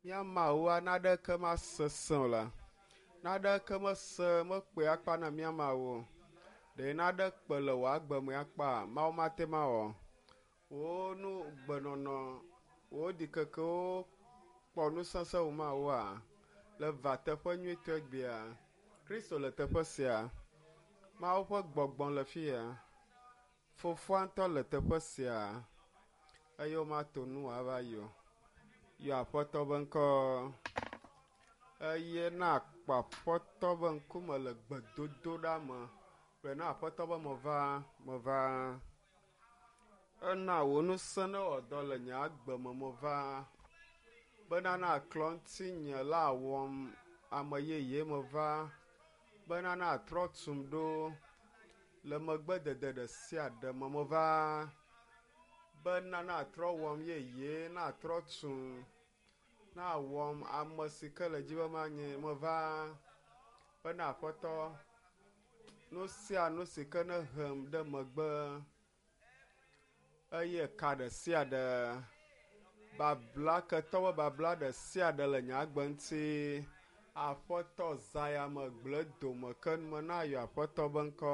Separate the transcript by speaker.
Speaker 1: Mía Mawua naɖeke masesẽ o la. Naɖeke mese mekpe akpa na mía Mawu o. Ɖe naɖe kpe le wò agbe me akpa Mawu mate mawɔ. Wò nu gbenɔnɔ, wò ɖikekewo kpɔ nusese wò Mawua le va teƒe nyuitɔ egbea. Kristo le teƒe sia. Mawu ƒe gbɔgbɔ le fi ya. Fofoa ŋutɔ le teƒe sia eye womato nu wòava yi o. Yɔ Aƒetɔ be ŋkɔ eye na kpɔ Aƒetɔ be ŋkume le gbedodoɖa me. Gblɔe na Aƒetɔ be meva, meva. Ena wò ŋusẽ ne wɔ dɔ le nye agbe me meva. Bena na klɔ ŋutinye la wɔm ame yeye meva. Bena na trɔ tum ɖo le megbedede ɖe sia ɖe me meva. Bena na trɔ wɔm yeye, na trɔ tum, na wɔm ame si ke le dzi be manye meva. Bena Aƒetɔ, nu sia nu si ke nehem ɖe megbe eye ka ɖe sia ɖe babla ketɔ be babla ɖe sia ɖe le nye agbe ŋuti. Aƒetɔ zã ya me gblẽ dome ke nume na yɔ Aƒetɔ be ŋkɔ.